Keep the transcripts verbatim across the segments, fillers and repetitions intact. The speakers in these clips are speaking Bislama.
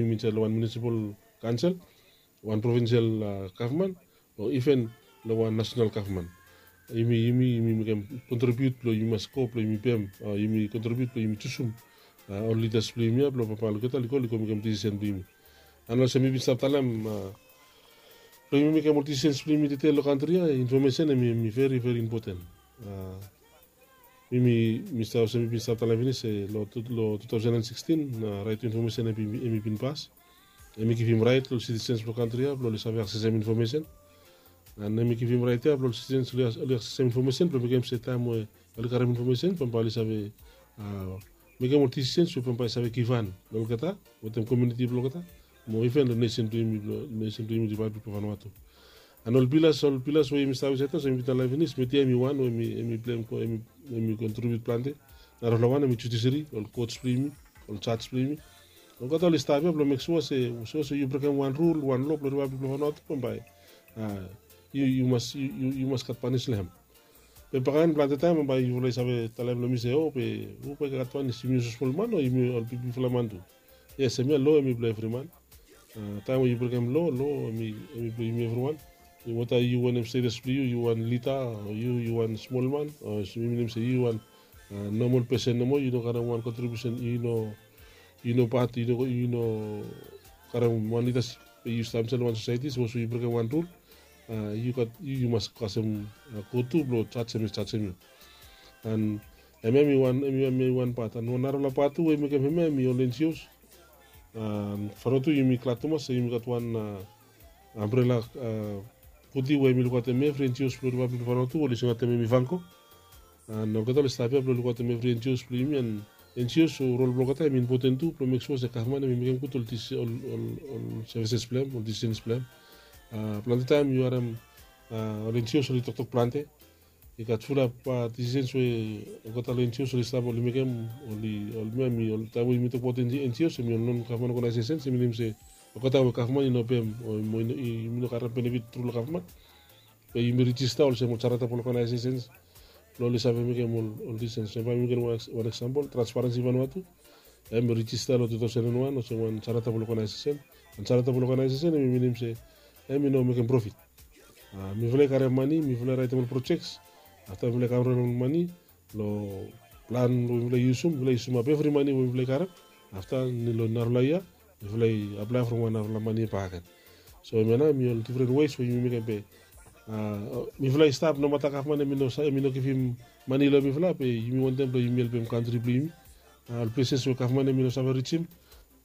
Yumi insaed long wan munisipal kaonsel, wan provinsel gavman, o iven long wan nasenal gavman. Yumi yumi yumi mekem kontribiut blong yumi mas go blong yumi pem, o yumi kontribiut blong yumi jusum ol lidas blong yumi ya blong bambae olgeta oli go oli go mekem disisen blong yumi. An olsem mi bin stap talem, blong yumi mekem ol disisens blong yumi detail long kantri ya, infomesen em i veri veri impoten. Mi mi mi stap olsem mi bin stap talem finis se long tu long tu taosen an sikstin, na rait infomesen em i em i bin pas. Em i givim rait long sitisens blong kantri ya blong oli save aksesem infomesen. An em i givim rait ya blong ol sitisens oli aksesem infomesen blong mekem se taem we oli karem infomesen bambae oli save mekem ol disisens we bambae i save givhan long olgeta wetem komiuniti blong olgeta, mo iven long nesen blong yumi blong nesen blong yumi Ripablik blong Vanuatu. An ol pilas ol pilas we yumi stap insaed ya olsem mi bin talem finis, media em i wan we em i blem em i kontribiut plante. Narafala wan em i judiseri, ol kots blong yumi, ol jaj blong yumi. Olgeta oli stap ya blong mek sua se sapos we yu brekem wan rul wan lo blong Ripablik blong Vanuatu bambae yu yu mas yu yu yu mas gat panis long hem. Be bakaen plante taem bambae yufala i save talem long mi se o be hupela i gat panis, yumi olsem smol man o yumi ol bigfala man tu? Yes, hemia lo em i blong evri man. Taem we yu brekem lo, lo em i em i blong yumi evriwan. Weta yu wanem status blong yu, yu wan lida o yu yu wan smol man o yumi nem se yu wan nomol pesen nomo, yu no karem wan kontribiusen, yu no yu no pat yu no yu no karem wan lidasip. Be yu stap insait long wan sosaeti sapos we yu brekem wan rul, yu gat yu yu mas kasem go tu blong jajem i jajem yu. An hemia em i wan em i em i wan pat an wan narafala pat tu we i mekem hemia em i ol enjios. An fano tu yumi glad tumas se yumi gat wan ambrela puti we yumi lukaotem evri enjios blong Ripablik blong Vanuatu oli singaotem em i fanko. An olgeta oli stap ya blong lukaotem evri enjios blong yumi an enjios o rol blong olgeta em i impoten tu blong mek sua se gavman em i mekem gud ol ol ol sevises blong hem, ol disisens blong hem. Plante taem yu harem ol enjios oli toktok plante. I gat fulap disisens we olgeta long enjios oli stap oli mekem, oli ol mia mi ol taem we yumi tokbaot enjios em i ol non gavman oganaesesens em i nem se olgeta we gavman i no pem o yumi no karem benefit tru long gavman. Be yumi rijista olsem ol jaratabol oganaesesens blong oli save mekem ol disisens. Bae mi mekem wan eksampol, Transparensi Vanuatu em i rijista long tu taosen an wan olsem wan jaratabol oganaesesen. An jaratabol oganaesesen em i minim se em i no mekem profit. Mifala i karem mane, mifala i raetem ol projeks. Afta mifala i kavrem ol mane long plan we mifala i yusum, mifala i yusum ap evri mane we mifala i karem. Afta long narafala yia mifala i aplae from wan narafala mane bakegen. So hemia nao em i ol difren wes we yumi mekem be mifala i stap nomata gavman em i no givim mane long mifala be yumi wantem blong yumi helpem kantri blong yumi. Ol pleses we gavman em i no save rijim,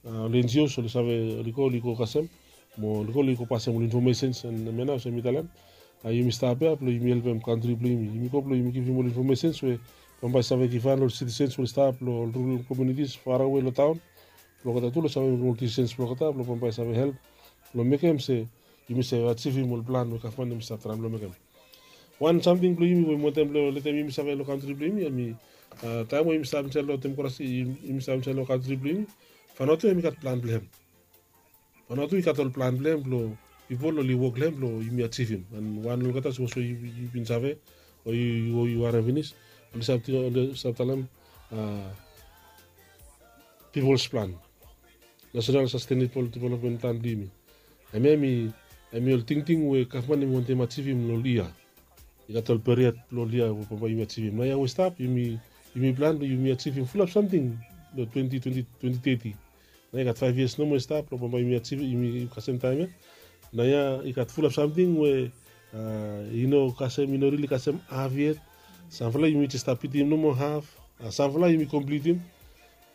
ol enjios oli save oli go oli go kasem mo oli go oli go pasem ol infomesens. Hemia nao olsem mi talem, yumi stap ya blong yumi helpem kantri blong yumi. Yumi go blong yumi givim ol infomesens we bambae i save givhan long ol sitisens we oli stap long ol rurol komiunitis farawe long taon blong olgeta tu long save mekem ol disisens blong olgeta blong bambae i save help blong mekem se yumi save ajivim ol plan we gavman em i stap traem long mekem. Wan samting blong yumi we mi wantem blong letem yumi save long kantri blong yumi em i taem we yumi stap insaed long demokrasi, yumi stap insaed long kantri blong yumi, Vanuatu em i gat plan blong hem. Vanuatu i gat ol plan blong hem blong pipol oli wok long hem blong yumi ajivim. An wan long olgeta sapos we yu bin save o yu yu harem finis, oli stap talem pipols plan, nasenal sastenebol developmen plan blong yumi. Hemia em i em i ol tingting we gavman em i wantem ajivim long ol yia. I gat ol period blong ol yia we bambae yumi ajivim. Naoia we i stap yumi yumi plan blong yumi ajivim fulap samting long twenti twenti twenti teti. Naoia i gat faef yias nomo i stap blong bambae yumi ajivim yumi kasem taem ya. Naoia i gat fulap samting we i no kasem i no rili kasem haf yet. Samfala yumi jes stap pitim nomo haf, samfala yumi komplitim.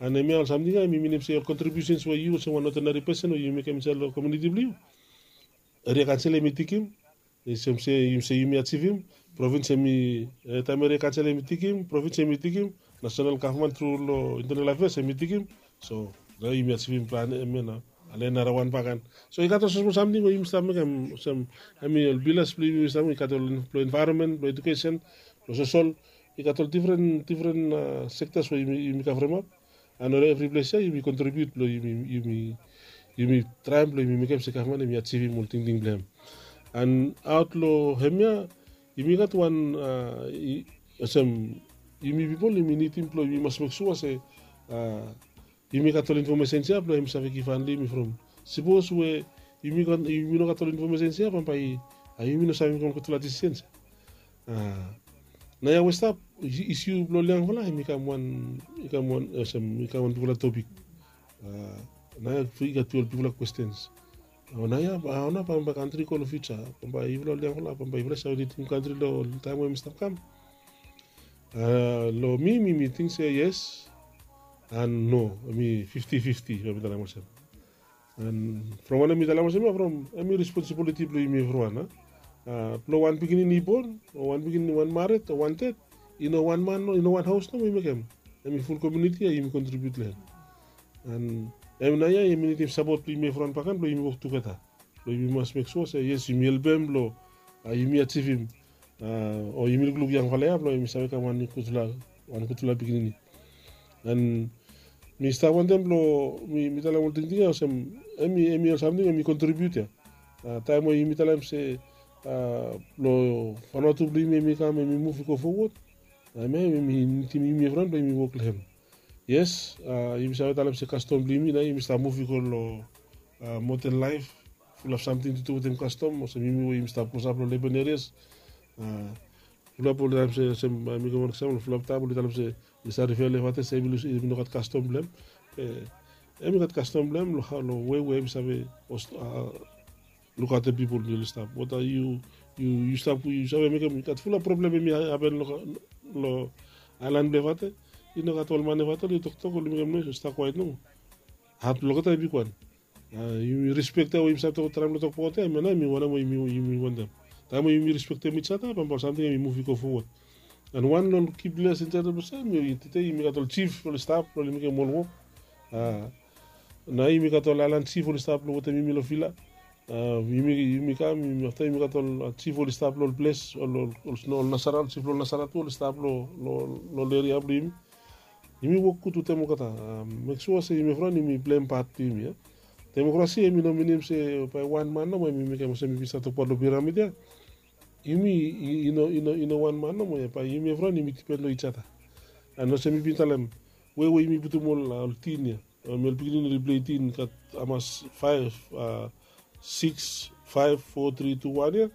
An hemia ol samting ya em i minim se ol kontribiusens we yu olsem wan odenari pesen we yu mekem insaed long komiuniti blong yu, eria kaonsel em i tikim. Olsem se yumi se yumi ajivim, provins em i taem eria kaonsel em i tikim, provins em i tikim, nasenal gavman tru long intenal afeas em i tikim. So nao yumi ajivim plan hemia nao. Ale narawan bakegen. So i gat ol smosmol samting we yumi stap mekem olsem, em i ol bilas blong yumi stap mekem, i gat ol blong envaeronmen, blong ejukesen, blong sosol. I gat ol difren difren sektas we yumi kavremap. An long evri ples ya yumi kontribiut blong yumi yumi yumi traem blong yumi mekem se gavman em i ajivim ol tingting blong hem. An aot long hemia yumi gat wan olsem, yumi pipol yumi nidim blong yumi mas mek sua se yumi gat ol infomesens ya blong em save givhan long yumi from. Sipos we yumi no gat ol infomesens ya, bambae yumi no save mekem ol gudfala disisens ya. Naoia we stap, isiu blong ol yangfala hem i kam wan, i kam wan olsem i kam wan bigfala topik. Naoia i gat ol bigfala kwestens. Naoia hao nao bambae kantri i go long fiuja? Bambae yufala ol yangfala, bambae yufala i save lidim kantri long taem we hem i stap kam? Long mi, mi mi ting se yes and no. Hem i fifti fifti, bae mi talem olsem. And from wanem mi talem olsem ya, from hem i responsibiliti blong yumi evriwan. Blong wan pikinini i bon o wan pikinini, wan mared o wan ded, i no wan man, i no wan haos nomo i mekem. Hem i ful komuniti ya yumi kontribiut long hem. And hem naoia yumi nidim sapot blong yumi evriwan bakegen blong yumi wok tugeta. Blong yumi mas mek sua se yes, yumi helpem blong yumi ajivim o yumi lukluk yangfala ya blong yumi save kam wan gudfala, wan gudfala pikinini. And mi stap wantem blong mi talem ol tingting ya olsem, hem i, hem i ol samting hem i kontribiut ya. Taem we yumi talem se blong Vanuatu blong yumi hem i kam, hem i muv i go fowod, taem ya hem i nidim yumi evriwan blong yumi wok long hem. Yes, yumi save talem se kastom blong yumi nao yumi stap muv i go long moden laef, fulap samting tu tu wetem kastom, olsem yumi we yumi stap klosap long leban erias. Fulap ol taem se, olsem bae mi givim wan eksampol, fulap taem oli talem se oli save rifea long evate se hem i no gat kastom blong hem. Be hem i gat kastom blong hem long hao, long we we hem i save lukaotem pipol we oli stap. Wata yu, yu stap, yu save mekem, i gat fulap problem hem i hapen long aelan blong evate. I no gat ol man evate oli toktok, oli mekem noes, oli stap kwaet nomo. Hap blong olgeta i bigwan. Yumi rispektem we yumi save tok, traem blong tokbaot ya, hemia nao hem i wanem we yumi wantem. Taem we yumi rispektem ijada, bambae ol samting hem i muv i go fowod. And wan long ol ki blesing insait long ples ya, tede yumi gat ol jif oli stap blong oli mekem ol wok. Nao yumi gat ol aelan jif oli stap blong wetem yumi long vila. Yumi, yumi kam, afta yumi gat ol jif oli stap long ol ples, ol, ol Nasara, ol jif blong Nasara tu oli stap long ol eria blong yumi. Yumi wok gud wetem olgeta. Mek sua se yumi evriwan yumi pleim pat blong yumi ya. Demokrasi hem i no minim se bae wan man nomo hem i mekem, olsem yumi stap tokbaot long piramid ya. Yumi i no, i no wan man nomo ya, bae yumi evriwan yumi dipen long ijada. And olsem mi bin talem, we we yumi putum ol, ol tin ya, ol pikinini oli plei tin, gat hamas, faef, sikis, faef, fo, tri, tu, wan ya.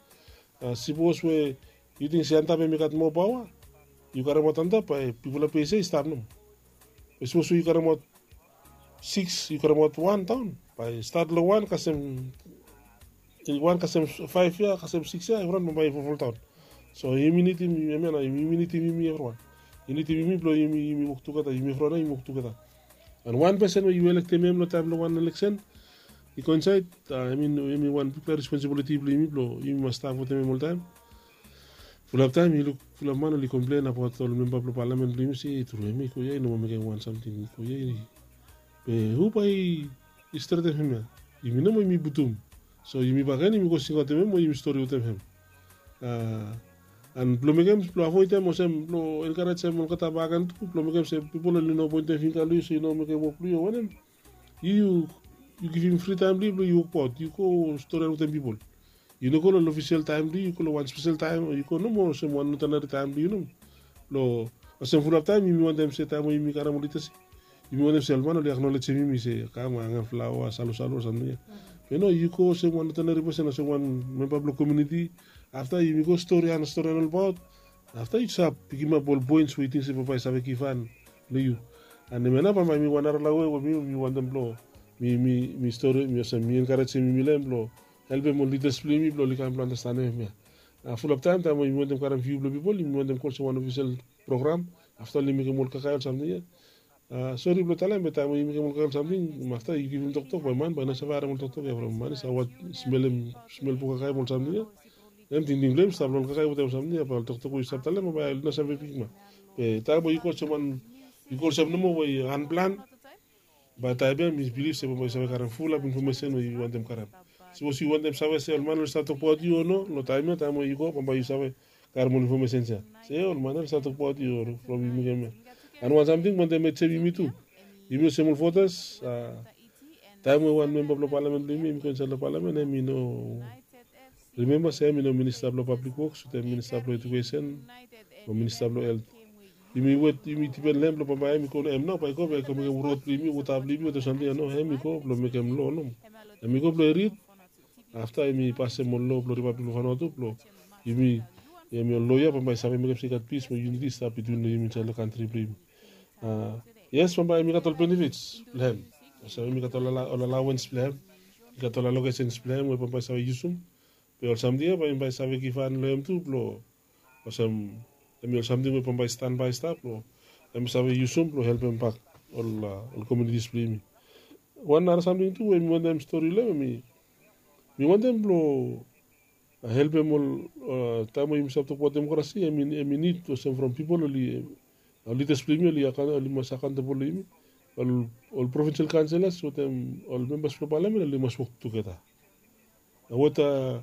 Sipos we yu ting se antap hem i gat moa paoa, yu karemaot antap, bae bigfala ples ya i stap nomo. Be sipos we yu karemaot sikis, yu karemaot wan daon, bae stat long wan kasem, wan kasem faef ya, kasem sikis ya, evriwan bambae i folfoldaon. So yumi nidim, hemia nao yumi nidim yumi evriwan. I nidim yumi blong yumi, yumi wok tugeta, yumi evriwan nao yumi wok tugeta. And wan pesen we yu elektem hem long taem blong wan eleksen i go insait, hem i, hem i wan bigfala responsibiliti blong yumi blong yumi mas stap wetem hem oltaem. Fulap taem yu luk fulap man oli komplen abaot ol memba blong palamen blong yumi se, tru hem i go ya i no moa mekem wan samting, i go ya i, be hu bae i stretem hemia? Yumi nomo yumi putum. So yumi bakegen yumi go singaotem hem o yumi stori wetem hem. And blong mekem, blong avoedem olsem blong enkarejem olgeta bakegen tu, blong mekem se pipol oli no poentem finga long yu se yu no mekem wok blong yu o wanem. Yu, yu givim fri taem blong yu blong yu wokbaot, yu go storian wetem pipol. Yu no go long ol ofisel taem blong yu, yu go long wan spesel taem, yu go nomo olsem wan odenari taem blong yu nomo. Long olsem fulap taem yumi wantem se taem we yumi karem ol lidasip, yumi wantem se ol man oli aknolejem yumi se kam angem flaoa, salusalu o samting ya. Be no, yu go olsem wan odenari pesen, olsem wan memba blong komuniti. Afta yumi go storian, storian olbaot. Afta yu save pikimap ol poens we yu ting se bambae i save givhan long yu. And hemia nao bambae mi wan narafala we we mi, mi wantem blong mi, mi, mi stori, mi olsem mi enkarejem yumi long hem blong helpem ol lidas blong yumi blong oli kam blong andastanem hemia. Fulap taem, taem we yumi wantem karem viu blong pipol, yumi wantem go olsem wan ofisel program. Afta oli mekem ol kakae o samting ya. Sori blong talem, be taem we yu mekem ol kakae o samting, afta yu givim toktok, bae man bae i no save harem ol toktok ya from man i save smelem smel blong kakae mo ol samting ya. Hem tingting blong hem i stap long ol kakae wetem ol samting ya, bae ol toktok we yu stap talem bae oli no save pikimap. Be taem we yu go olsem wan, yu go olsem nomo we yu anplan, bae taem ya mi bilif se bambae yu save karem fulap infomesen we yu wantem karem. Sipos yu wantem save se ol man oli stap tokbaot yu o no long taem ya, taem we yu go bambae yu save karem ol infomesens ya se ol man ya oli stap tokbaot yu o from yu mekem ya. And wan samting mi wantem adjem yumi tu, yumi olsem ol votas. Taem we wan memba blong palamen blong yumi hem i go insaed long palamen, hem i no, rimemba se hem i no minista blong pablik woks wetem minista blong ejukesen o minista blong helt. yumi wet, yumi dipen long hem blong bambae hem i go long hem nao, bae i go bae i go mekem rod blong yumi, wota blong yumi, wota samting ya, no, hem i go blong mekem lo nomo. Hem i go blong i rid. Afta yumi pasem ol lo blong Ripablik blong Vanuatu blong yumi, yumi ol loya bambae i save mekem se i gat pis mo yuniti i stap bitwin long yumi insaed long kantri blong yumi. Yes, bambae yumi gat ol benefits blong hem. Olsem yumi gat ol alawens blong hem, yumi gat ol alokesens blong hem we bambae i save yusum. Be ol samting ya bae yumi bae save givhan long hem tu blong olsem, hemi ol samting we bambae i stanbae i stap blong hem i save yusum blong helpem bak ol, ol komunitis blong yumi. Wan nara samting tu we mi wantem stori long hem, mi wantem blong helpem ol, taem we yumi stap tokbaot demokrasi, hemi nid olsem from pipol oli, ol lidas blong yumi oli mas akaontabol long yumi. Ol provinsel kanselas wetem ol membas blong palamen oli mas wok tugeta. Weta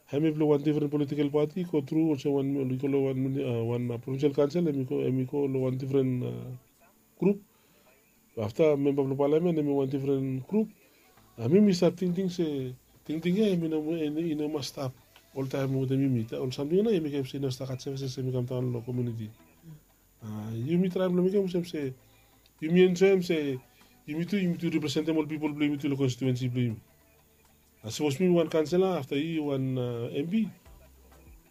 hemi blong wan difren politikel pati i go tru olsem wan, i go long wan provinsel kansel, hemi go long wan difren grup. Afta memba blong palamen hemi wan difren grup. Mi mi stap tingting se tingting ya hemi no, i no mas stap oltaem wetem yumi. Ol samting ya nao i mekem se i no stap gat sevises hemi kamdaon long komuniti. Yumi traem long mekem olsem se yumi enjoem se yumi tu yumi tu representem ol pipol blong yumi tu long konstituensi blong yumi. Sapos mi wan kansela afta yu wan MP,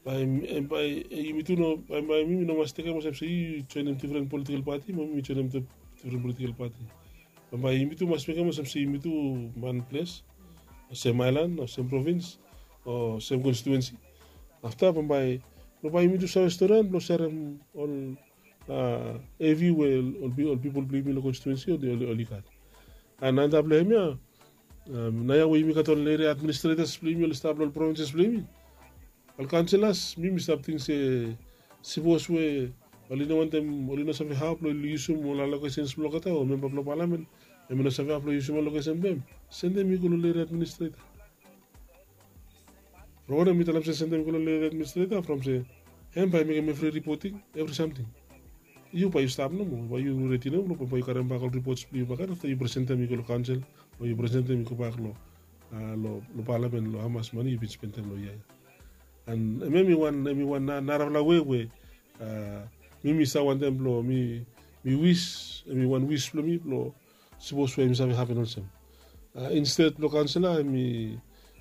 bae yumi tu no, bae mi mi no mas tekem olsem se yu joenem difren politikel pati mo mi joenem difren politikel pati. Bae yumi tu mas mekem olsem se yumi tu wan ples, o sem aelan, o sem provins, o sem konstituensi. Afta bambae, bambae yumi tu save storian blong serem ol hevi we ol pipol blong yumi long konstituensi oli gat. An antap long hemia, naoia we yumi gat ol eria administretas blong yumi oli stap long ol provinses blong yumi, ol kaunselas, mi mi stap ting se sipos we oli no wantem, oli no save hao blong oli yusum ol alokesens blong olgeta o memba blong palamen, hemi no save hao blong yusum alokesen blong hem, sendem i go long eria administreta. From wanem mi talem se sendem i go long eria administreta? From se hem bae i mekem evri ripoting, evri samting. Yu bae yu stap nomo, bae yu redi nomo blong bae yu karem bak ol ripots blong yu bakegen afta yu presentem i go long kaonsel o yu presentem i go bak long, long palamen long hamas mane yu bin spendem long yia ya. An hemia hemi wan, hemi wan narafala wei we mi mi save wantem blong mi, mi wis, hemi wan wis blong mi blong sipos we hemi save hapen olsem. Insted blong kaonsela hemi,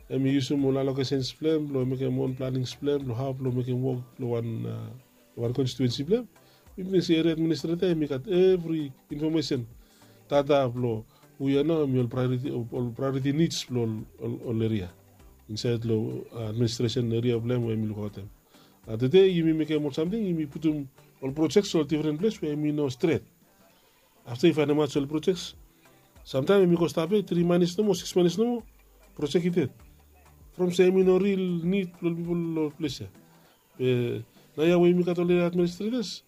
hemi yusum ol alokesens blong hem blong mekem on planings blong hem blong hao blong mekem wok long wan, long wan konstituensi blong hem. Mi ting se eria administreta hemi gat evri infomesen, data blong hu ya nao hemi ol praeoriti, ol praeoriti nids blong ol eria insaed long administresen eria blong hem we hemi lukaotem. Tede yumi mekem ol samting, yumi putum ol projeks long difren ples we hemi no stret. Afta yu faenemaot se ol projeks samtaem hemi go stap ya tri manis nomo, sikis manis nomo, projek i ded. From se hemi no ril nid blong ol pipol long ples ya. Be naoia we yumi gat ol eria administretas,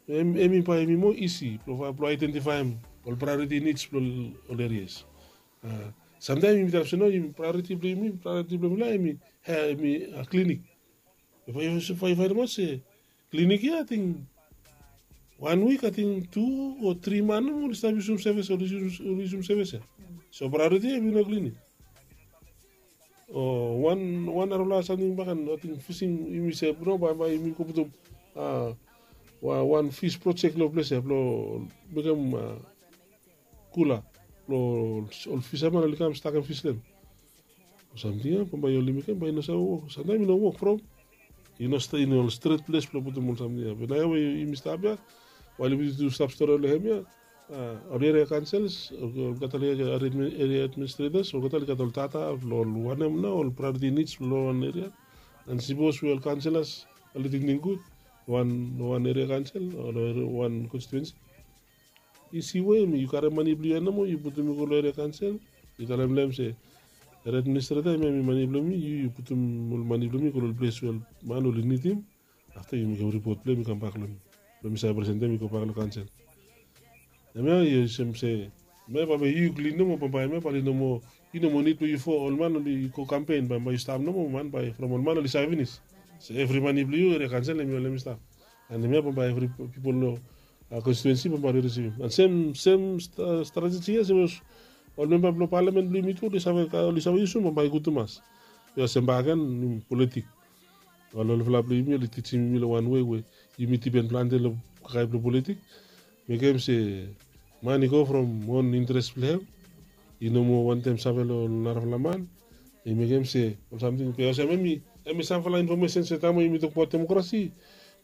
hemi bae hemi moa isi blong aedentifaem ol praeoriti nids blong ol erias. Samtaem yumi talem se no, praeoriti blong yumi, praeoriti blong mifala hemi, hemi klinik. Be bae yu faenemaot se klinik ya ating wan wik ating tu o tri man nomo oli stap yusum sevis, oli yusum sevis ya. So praeoriti ya hemi no klinik. O wan, wan narafala samting bakegen, ating fising, yumi se no, bae, bae yumi go putum wan fis projek long ples ya blong mekem kula blong ol fisaman oli kam stakem fis long hem. Ol samting ya bambae oli mekem bae i no save wok, samtaem i no wok from i no stret ples blong putum ol samting ya. Be naoia we yumi stap ya, wael yumi tu stap stori long hemia, ol eria kaonsels, olgeta oli gat ol eria administretas, olgeta oli gat ol data blong ol wanem nao ol praeoriti nids blong ol wan eria. An sipos we ol kaonselas oli tingting gud long wan eria kaonsel o long wan konstituensi, isi we hemi yu karem mane blong yu ya nomo yu putum i go long eria kaonsel, yu talem long hem se eria administreta hemia hemi mane blong mi, yu yu putum ol mane blong mi i go long ol ples we ol man oli nidim. Afta yu mekem ripot blong hem i kambak long mi blong mi save presentem i gobak long kaonsel. Hemia yu olsem se hemia bambae yu yu klin nomo, bambae hemia bae oli no moa, i no moa nid blong yu fo ol man oli go kampen, bambae yu stap nomo man bae from ol man oli save finis se evri mane blong yu eria kaonsel hemi ol hemi stap. An hemia bambae evri pipol long konstituensi bambae oli risivim. An sem, sem strateji ya sapos ol memba blong palamen blong yumi tu oli save, oli save yusum bambae i gud tumas. Be olsem bakegen politik. Ol olfala blong yumi oli tijim yumi long wan wei we yumi dipen plante long kakae blong politik. Mekem se man i go from on interes blong hem, i no moa wantem save long narafala man. I mekem se ol samting be olsem em i, em i samfala infomesen se taem we yumi tokbaot demokrasi,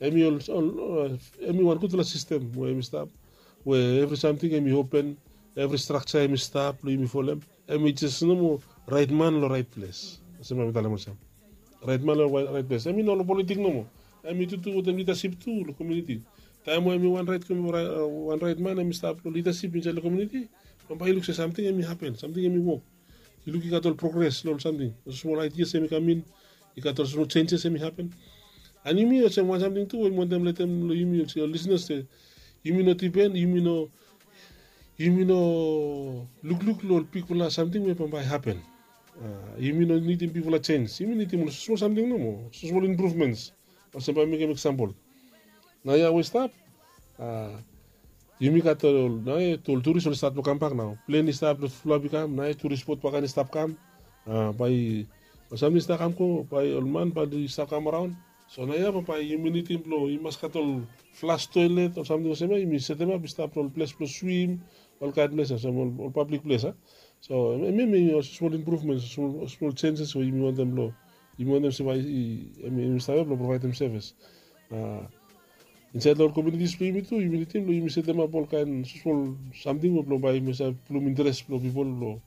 em i ol, ol, em i wan gudfala sistem we em i stap, we evri samting em i open, evri strakja em i stap blong yumi folem. Em i jes nomo rait man long rait ples. Olsem bae mi talem olsem, rait man long rait ples. Em i no long politik nomo. Em i tutu wetem lidasip tu long komuniti. Taem we em i wan rait, wan rait man em i stap long lidasip insaed long komuniti, bambae i luk se samting em i hapen, samting em i wok. I luk i gat ol progres long ol samting, ol smol aidias em i kam in, i gat ol smol jenjes em i hapen. And yumi olsem wan samting tu we mi wantem letem long yumi olsem ol lisenas se yumi no dipen, yumi no, yumi no lukluk long ol bigfala samting we bambae i hapen. Yumi no nidim bigfala jenj, yumi nidim ol smol samting nomo, smol impruvmens. Olsem bae mi mekem eksampol, naoia we i stap, yumi gat ol, naoia ol turis oli stat long kambak nao. Plen i stap long flap i kam, naoia turis bot baken i stap kam. Bae ol samting i stap kam go, bae ol man bae oli stap kam araon. So naoia bambae yumi nidim blong i mas gat ol flas toelet, ol samting olsem ya yumi setemap i stap long ol ples blong swim, olkaen ples olsem ol pablik ples a. So em, em i ol smol impruvmens, ol smol jenjes we yumi wantem long, yumi wantem se bae em i stap ya blong provaedem sevis insaed long ol komunitis blong yumi tu. Yumi nidim blong yumi setemap olkaen smol samting we blong bae yumi save pulum interes blong pipol blong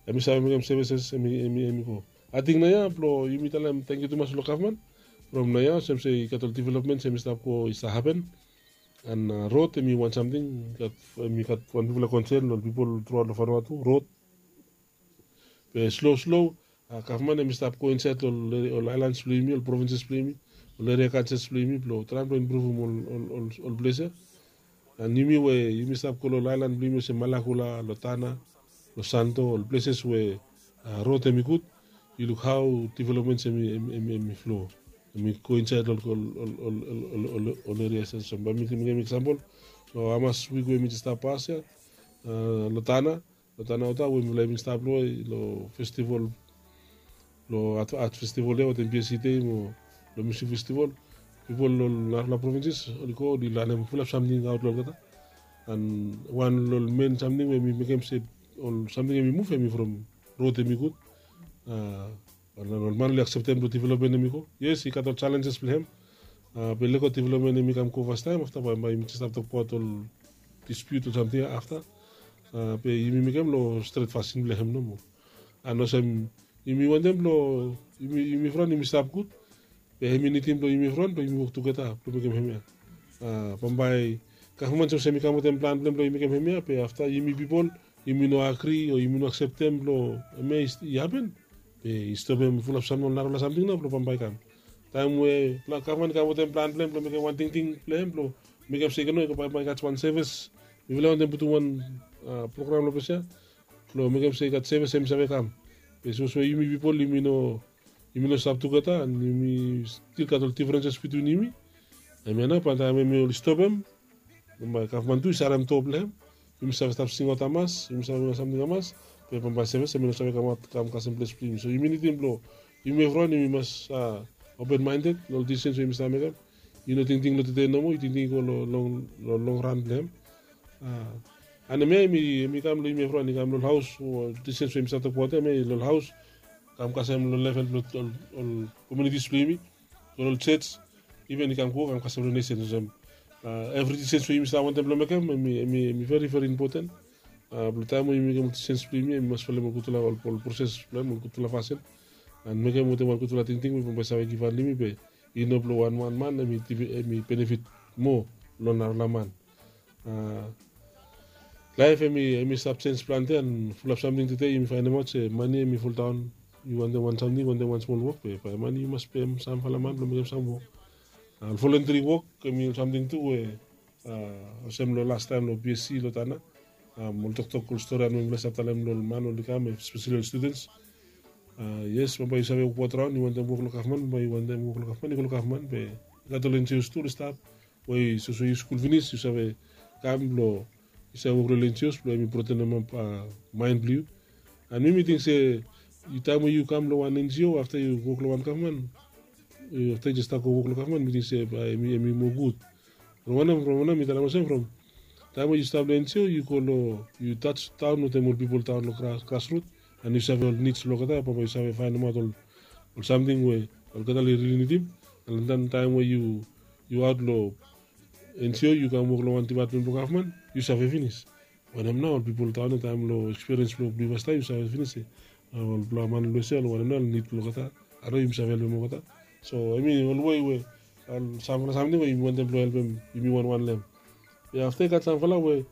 em i save mekem sevises em i, em i go. Ating naoia blong yumi talem tangkiu tumas long gavman. From naoia olsem se i gat ol developmens em i stap go, i stap hapen. And rod em i wan samting, em i gat wan bigfala konsen long ol pipol truaot long Vanuatu, rod. Be slo slo gavman em i stap go insaed long ol aelans blong yumi, ol provinses blong yumi, ol eria kansels blong yumi blong traem blong impruvum ol ples ya. And yumi we yumi stap go long ol aelan blong yumi olsem Malakula, long Tana, long Santo, ol pleses we rod em i gud, yu luk hao developmens em i flo, em i go insaed long ol erias ya. Olsem bae mi mekem eksampol, long hamas wik we mi jes stap pas ya, long Tana, long Tana Ota we mifala i bin stap long, long festival, long art festival ya wetem BSC Day mo long musik festival. Pipol long narafala provinses oli go oli lanem fulap samting aot long olgeta. And wan long ol men samting we mi mekem se ol samting em i muv em i from rod em i gud. Ol man oli akseptem long developmen em i go. Yes, i gat ol jalenjes blong hem. Be lego developmen em i kam go fastaem, afta bae, bae yumi jes stap tokbaot ol dispiut o samting ya afta. Be yumi mekem long stret fasin blong hem nomo. And olsem yumi wantem blong yumi, yumi fron yumi stap gud. Be hem i nidim blong yumi fron blong yumi wok tugeta blong mekem hemia. Bambae gavman sapos hem i kam wetem plan blong hem blong i mekem hemia, be afta yumi pipol yumi no agri o yumi no akseptem blong hemia i hapen, be i stopem fulap sam ol narafala samting nao blong bambae i kam. Taem we gavman i kam wetem plan blong hem blong mekem wan tingting blong hem blong mekem se i no, bambae i gat wan sevis, mifala wantem putum wan program long ples ya blong mekem se i gat sevis hem i save kam. Be sapos we yumi pipol yumi no, yumi no stap tugeta and yumi stil gat ol difrenses bitwin yumi, hemia nao bae taem hem i oli stopem, bambae gavman tu i sarem doa blong hem. Yumi save stap singaot hamas, yumi save mekem samting hamas, be bambae sevis hem i no save kamaot kam kasem ples blong yumi. So yumi nidim blong yumi evriwan yumi mas open minded long ol disisens we yumi stap mekem. Yu no tingting long tede nomo, yu tingting i go long long long ran blong hem. And hemia hem i kam long yumi evriwan, i kam long ol haos, disisens we yumi stap tokbaot ya hemia i long ol haos, kam kasem long level blong ol komunitis blong yumi, long ol jos, iven i kam go kam kasem long nesen olsem. Evri disisens we yumi stap wantem blong mekem hem i, hem i veri veri impoten. Blong taem we yumi mekem ol disisens blong yumi hem i mas folem ol gudfala ol proses blong hem ol gudfala fasin, and mekem wetem wan gudfala tingting we bambae i save givhan long yumi be i no blong wan wan man hem i benefit moa long narafala man. Laef hem i, hem i stap jenj plante and fulap samting tede yumi faenemaot se mane hem i foldaon. Yu wantem wan samting, wantem wan smol wok be bae mane yu mas pem samfala man blong mekem sam wok. Ol voluntary wok hem i ol samting tu we olsem long lastaem long BSC long Tana, ol toktok ol storian we mifala i stap talem long ol man oli kam, espeseli ol studens. Yes, bambae yu save wokbaot raon, yu wantem wok long gavman, bambae yu wantem wok long gavman, yu go long gavman, be i gat ol NGOs tu oli stap we sapos we yu skul finis yu save kam blong yu save wok long ol NGOs blong hem i broadenemap maen blong yu. And mi mi ting se taem we yu kam long wan NGO afta yu wok long wan gavman, afta yu jes stap go wok long gavman, mi ting se bae em i moa gud. From wanem, from wanem mi talem olsem, from taem we yu stap long NGO, yu go long, yu tas taon wetem ol pipol taon long gras, grasrut, and yu save ol nids blong olgeta, bambae yu save faenemaot ol, ol samting we olgeta oli rili nidim. And then taem we yu, yu aot long NGO, yu kam wok long wan dipatmen blong gavman, yu save finis wanem nao ol pipol taon ya, taem long ekspiriens blong yu fastaem, yu save finis se ol blong man long USA, ol wanem nao ol nid blong olgeta, hao yumi save helpem olgeta. So hemi ol wei we ol samfala samting we yumi wantem blong helpem yumi wanwan long hem. Be afta i gat samfala we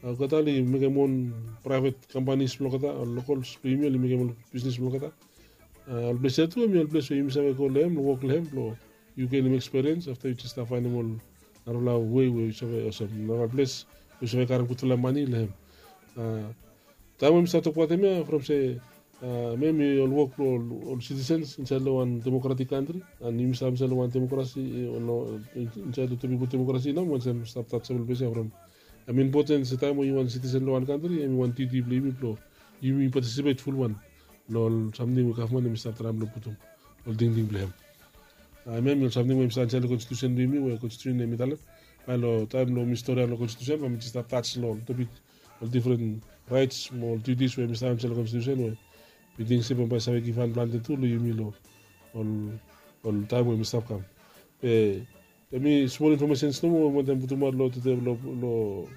olgeta oli mekem on praevet kampanis blong olgeta, ol lokals blong yumi oli mekem ol bisnis blong olgeta. Ol ples ya tu hemi ol ples we yumi save go long hem, long wok long hem blong yu genem ekspiriens, afta yu jes stap faenem ol narafala wei we yu save olsem, narafala ples we yu save karem gudfala mane long hem. Taem we mi stap tokbaot hemia from se, hemia hemi ol wok blong ol sitisens insaed long wan demokratik kantri, and yumi stap insaed long wan demokrasi, insaed long topik blong demokrasi nao, olsem stap tatsabol ples ya from, hemi impoten se taem we yu wan sitisen long wan kantri, hemi wan diuti blong yumi blong yumi patisipet fulwan long ol samting we gavman hemi stap traem blong putum ol tingting blong hem. Hemia hemi ol samting we hemi stap insaed long konstitusen blong yumi, we konstitusen hemi talem bae long taem blong yumi storiaot long konstitusen, bae mi jes stap tas long ol topik, ol difren raets mo ol diutis we hemi stap insaed long konstitusen, we mi ting se bambae i save givhan plante tu long yumi long ol, ol taem we hemi stap kam. Be hemi smol infomesens nomo we mi wantem putumaot long tede, long, long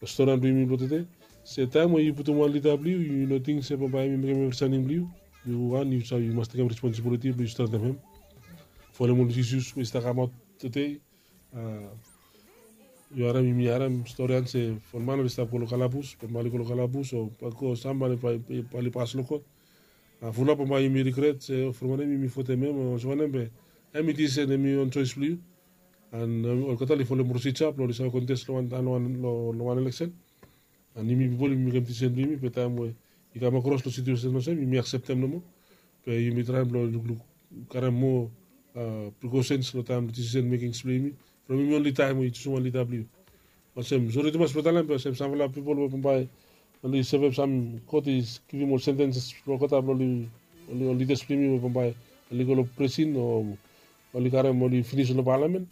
storian blong yumi blong tede. Se taem we yu putum wan lida blong yu, yu no ting se bambae hemi mekem evri samting blong yu. Yu wan, yu save, yu mas tekem responsibiliti blong yu stretem hem. Folem ol isus we i stap kamaot tede. Yu harem, yumi harem storian se ol man oli stap go long kalabus, bambae oli go long kalabus o bae go sam bae oli, bae oli pas long kot. Fulap bambae yumi rigret se from wanem yumi votem hem o olsem wanem, be hemi disisen, hemi on joes blong yu. And olgeta oli folem prosija blong oli save kontes long wan, long wan, long wan eleksen. And yumi pipol yumi mekem disisen blong yumi, be taem we i kam akros long situesen olsem, yumi akseptem nomo. Be yumi traem blong lukluk, karem moa prikosens long taem blong disisen mekings blong yumi. From yumi onli taem we yu jusum wan lida blong yu. Olsem, sori tumas blong talem, be olsem samfala pipol we bambae oli sevem sam, kot i givim ol sentenses blong olgeta blong oli, ol lidas blong yumi we bambae oli go long prisin o oli karem, oli finis long palamen.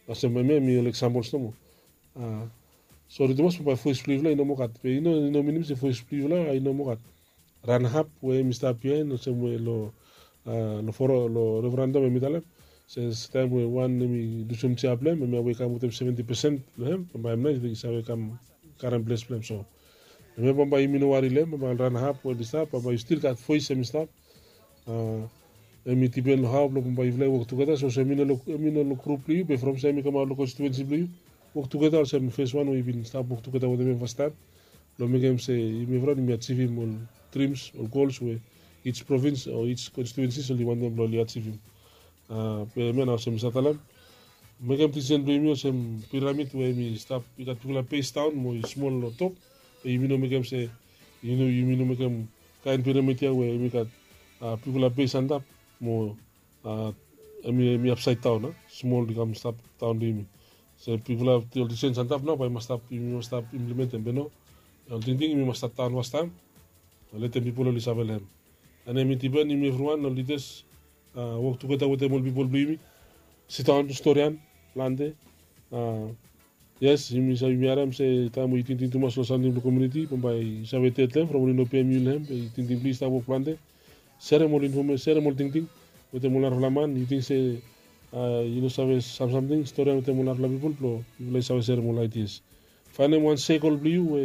Olsem hemia hemi ol eksampol nomo. Sori tumas bambae voes blong yufala i no moa gat. Be i no, i no minim se voes blong yufala i no moa gat. Ran hap we hemi stap biaen, olsem we long, long foro, long referendam hemi talem se taem we wan hemi lusum jea blong hem, hemia we i kam wetem seventi pesen blong hem, bambae hemia i save kam karem ples blong hem. So hemia bambae yumi no wari long hem, bambae ran hap we hemi stap, bambae yu stil gat voes hemi stap. Hemi dipen long hao blong bambae yufala i wok tugeta. So olsem hemi no long, hemi no long grup blong yu, be from saem i kamaot long konstituensi blong yu, wok tugeta olsem fes wan we yu bin stap wok tugeta wetem hem fastaem, blong mekem se yumi evriwan yumi ajivim ol drims, ol gols we each provins o each konstituensis oli wantem blong oli ajivim. Be hemia nao olsem mi save talem, mekem disisen blong yumi olsem piramid we hemi stap, i gat bigfala bes daon mo i smol long top. Be yumi no mekem se, yu no, yumi no mekem kaen piramid ya we hemi gat bigfala bes antap mo hemi, hemi apsaed daon, a smol i kam stap daon long yumi. Se bigfala ol disisen antap nao bae i mas stap, yumi mas stap implementem, be no, ol tingting yumi mas stat daon fastaem, letem pipol oli save long hem. And hemi dipen yumi evriwan ol lidas wok tugeta wetem ol pipol blong yumi, sidaon, storian plante. Yes, yumi save, yumi harem se taem we yu tingting tumas long samting blong komuniti, bambae yu save ded long hem from oli no pem yu long hem, be tingting blong yu i stap wok plante. Serem ol infome, serem ol tingting wetem ol narafala man. Yu ting se yu no save sam samting, storian wetem ol narafala pipol blong yufala i save serem ol aidias. Faenem wan sekol blong yu we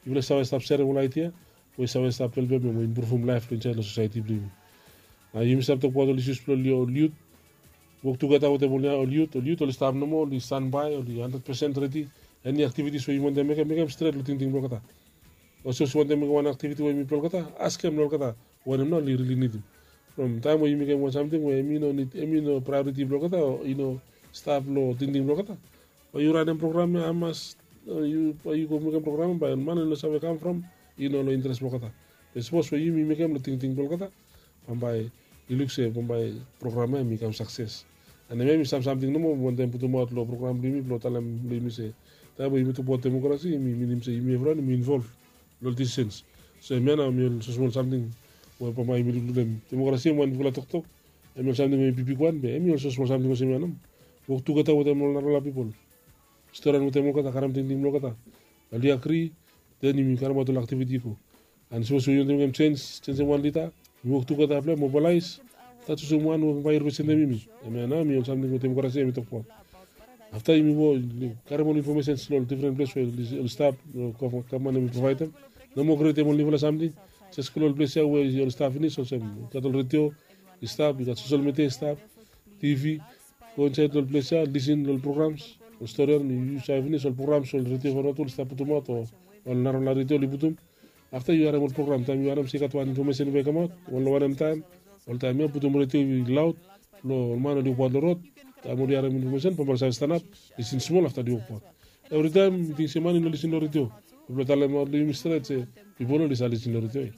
yufala i save stap serem ol aidia we i save stap helpem mo impruvum laef blong insaed long sosaeti blong yumi. Nao yumi stap tokbaot ol isus blong ol yut. Wok tugeta wetem ol yut, ol yut oli stap nomo, oli stanbae, oli handred pesen redi. Eni aktivitis we yumi wantem mekem, mekem stret long tingting blong olgeta. Olsem sapos yu wantem mekem wan aktiviti we yumi blong olgeta, askem long olgeta wanem nao oli rili nidim. From taem we yu mekem wan samting we hemi no nid, hemi no praeoriti blong olgeta o i no stap long tingting blong olgeta, bae yu ranem program ya hamas, yu, bae yu go mekem program ya, bae man i no save kam from i no long interes blong olgeta. Be sapos we yumi mekem long tingting blong olgeta, bambae i luk se bambae program ya hemi kam sakses. And hemia hemi sam samting nomo mi wantem putumaot long program blong yumi blong talem long yumi se taem we yumi tokbaot demokrasi, hemi minim se yumi evriwan yumi involv long ol disisens. So hemia nao hemi ol smosmol samting we bambae yumi lukluk long hem. Demokrasi hemi wan bigfala toktok. Em i ol samting we i bibik wan be em i olsem smol samting olsem ya nao. Wok tugeta wetem ol narafala pipol, storian wetem olgeta, karem tingting blong olgeta. Oli agri, den yumi karemaot ol aktiviti i go. An sapos we yumi wantem mekem sens, sensem wan lida, yumi wok tugeta blong em, mobilaes, afta jusum wan we bae i representem yumi. Em ya nao em i ol samting we demokrasi em i tokbaot. Afta yumi go karem ol infomesens long ol difren ples we oli stap, gavman em i provaedem. No moa krietem ol niufala samting. Jes go long ol ples ya we oli stap finis olsem, i gat ol redio i stap, i gat sosel midia i stap, tivi. Go insaed long ol ples ya, lisin long ol programs, ol storian, yu save finis ol programs ol redio Vanuatu oli stap putumaot o ol narafala redio oli putum. Afta yu harem ol program, taem yu harem se i gat wan infomesen we i kamaot wan long wanem taem, ol taem ya putum redio i laod blong ol man oli wokbaot long rod. Taem oli harem infomesen bambae oli save stanap, lisin smol afta oli wokbaot. Evritaem mi ting se man i no lisin long redio. Blong talemaot long yumi stret se pipol oli save lisin long redio ya.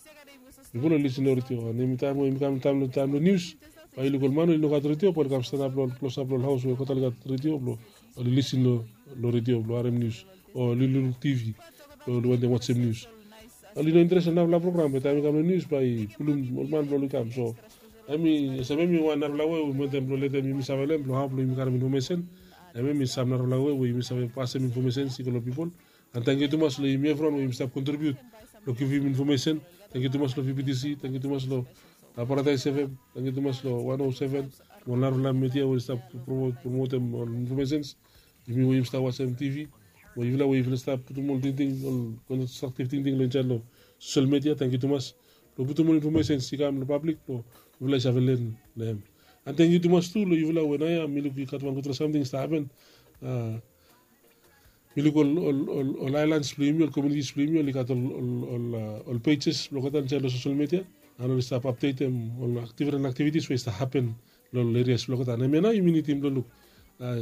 Pipol oli lisin long redio, an yumi taem we yumi kam taem long, taem long nius, bae yu luk ol man we oli no gat redio bae oli kam stanap long klosap long ol haos we olgeta oli gat redio blong oli lisin long redio blong harem nius, o oli luk tivi blong oli wantem wajem nius. Oli no interes long narafala program, be taem i kam long nius bae i pulum ol man blong oli kam. So em i olsem em i wan narafala wei we mi wantem blong letem yumi save long em blong hao blong yumi karem infomesen. Em em i sam narafala wei we yumi save pasem infomesen i go long pipol. An tangkiu tumas long yumi evriwan we yumi stap kontribiut long givim infomesen. Tangkiu tumas long V P T C, tangkiu tumas long Paradaes F M, tangkiu tumas long wan o seven, mo ol narafala midia we oli stap promotem ol infomesens. Yumi we yumi stap wajem tivi, mo yufala we yufala stap putum ol tingting, ol konstraktiv tingting long insaed long sosel midia, tangkiu tumas blong putum ol infomesens i kam long pablik blong yufala i save len long em. An tangkiu tumas tu long yufala we naoia mi luk i gat wan gudfala samting i stap hapen. Mi luk ol aelans blong yumi, ol komunitis blong yumi oli gat ol pejes blong olgeta insaed long sosel midia, an oli stap apdetem ol difren aktivitis we i stap hapen long ol erias blong olgeta. An hemia nao yumi nidim blong luk,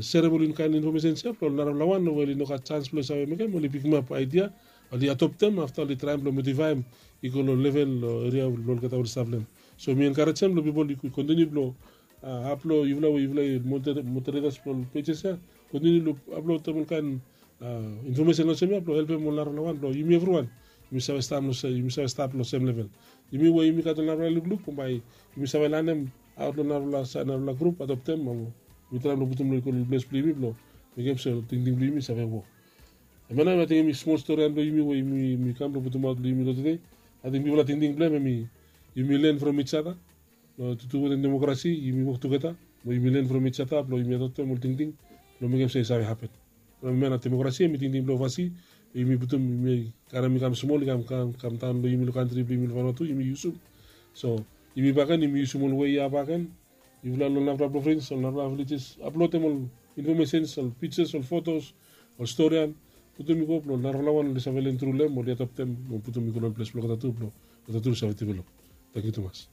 serem ol kaen infomesens ya blong ol narafala wan we oli no gat sans blong save mekem, oli pikimap aidia, oli adoptem, afta oli traem blong modifaem i go long level long eria blong olgeta we oli stap long em. So mi enkarejem long pipol i kontiniu blong, hap long yufala we yufala i moderetas blong ol pejes ya, kontiniu long aplotem ol kaen infomesen olsem ya blong helpem ol narafala wan blong yumi evriwan yumi save stap long sem level. Yumi we yumi gat ol narafala lukluk, bambae yumi save lanem aot long narafala grup, adoptem, mo yumi traem long putum long ikol ples blong yumi blong mekem se ol tingting blong yumi i save wok. Hemia nao ating hemi smol storian blong yumi we yumi kam blong putumaot long yumi long tede. Ating bigfala tingting blong hem hemi yumi len from ijada. Long tutu wetem demokrasi yumi wok tugeta, mo yumi len from ijada blong yumi adoptem ol tingting blong mekem se i save hapen. Hemia nao demokrasi hemi tingting blong ovasi we yumi putum, yumi karem i kam smol, i kam, kam, kamdaon long yumi long kantri blong yumi long Vanuatu yumi yusum. So yumi bakegen yumi yusum ol wei ya bakegen. Yufala long ol narafala provins, ol narafala vilejes, aplotem ol infomesens, ol pijas, ol fotos, ol storian, putum i go blong ol narafala wan oli save len tru long hem, oli adoptem mo putum i go long ol ples blong olgeta tu blong olgeta tu oli save develop. Tangkiu tumas.